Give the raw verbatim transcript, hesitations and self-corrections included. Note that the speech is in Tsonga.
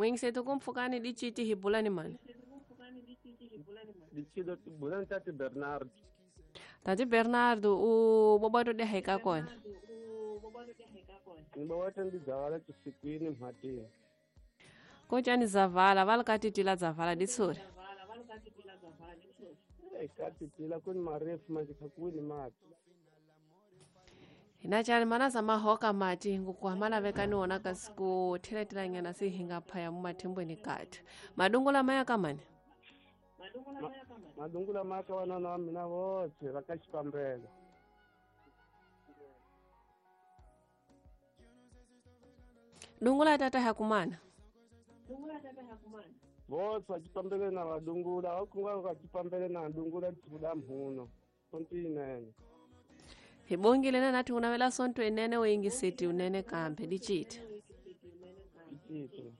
N'wingiseti ku mpfhukani diciti hi bula ni mani? Dicilo tibula ni tati Bernard. Tati Bernard u bobato de heka kona. Ni bawata ndi dzavala chisikwini mhatini. Kocani zavala vala katitila zavala ditsuri. Eh katitila kuni marefu manje khakuwini mati. Hina chani mana za mahoka mati ngukuhamana vekani wona kasi ku theletelanyana si hinga phaya mumathimbweni kati. Madungula maya kamani? Madungula maya ka vanana wa mina voxe va ka xipambela. Dungula tata hakumana. Voxe va xipambele na vadungula va kunga va xipambele na dungula tsuda mhuno. Sontinene. Hi bongile na nathi unavela sonto inene uyingiseti unene kambe diciti. Diciti.